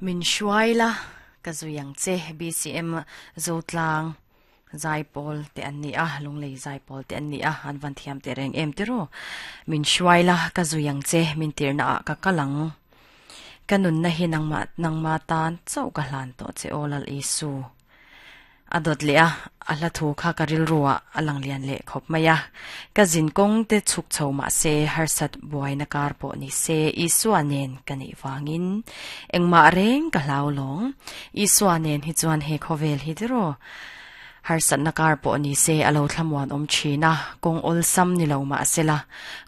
Min hruai la, ka zui ang che, BCM Zotlang Zaipawl te an ni a, Lunglei Zaipawl te an ni a, an van thiam teh reng em tiraw? Min hruai la, ka zui ang che, min tirna ah ka kal ang. Ka nunna hi nangmah nangmah tan chauh ka hlan tawh che aw Lal Isu. A dawt leh a, a hla thu kha ka rilru ah a lang lian leh khawp mai a. Ka zin kawng te chhuk chho mah se, harsat buaina kar pawh ni se, Isua nen ka neih vangin engmah reng ka hlau lawng. Isua nen hi chuan he khawvel hi tiraw harsatna kar pawh ni se a lo thlamuan awm thin a, kawng awlsam ni lo mah sela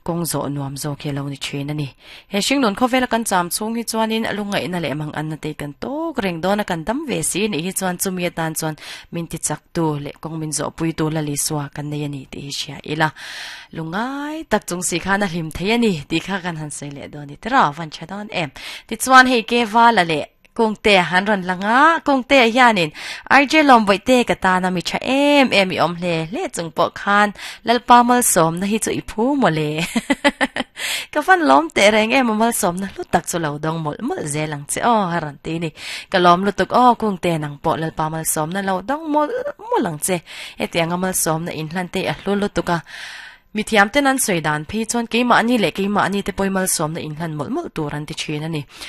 kawng zawh nuam zawk hi a lo ni thin a ni. He hringnun khawvela kan cham chhung hi chuanin lungngaihna leh manganna te kan tawk reng dawn a, kan dam ve si nih hi chuan chumi atan chuan min ti chaktu leh kawng min zawhpuitu la Lisua kan nei a ni tih hi hria ila. Lungngai tak chung si khan a hlim thei a ni tih kha kan han sawi leh dawn ni tiraw van tha dawn em. Tichuan hei Kevala leh Kungte han rawn lang a, Kungte hianin RJ Lawmbawihtê ka tana mi tha em em i awm hle hle chung pawh khan Lalpa malsawmna hi chu i phu mawle. Ka van lawm teh reng em a malsawmna hlu tak chu lo dawng mawlh mawlh zel ang che aw a rawn ti ni. Ka lawm lutuk aw Kungte nang pawh Lalpa malsawmna lo dawng mawlh mawlh ang che. Hetianga malsawmna inhlan te a hlu lutuk a. Mithiamten an sawi dan phei chuan keimahni leh keimahni te pawhin malsawmna inhlan mawlh mawlh tur an ti thin a ni.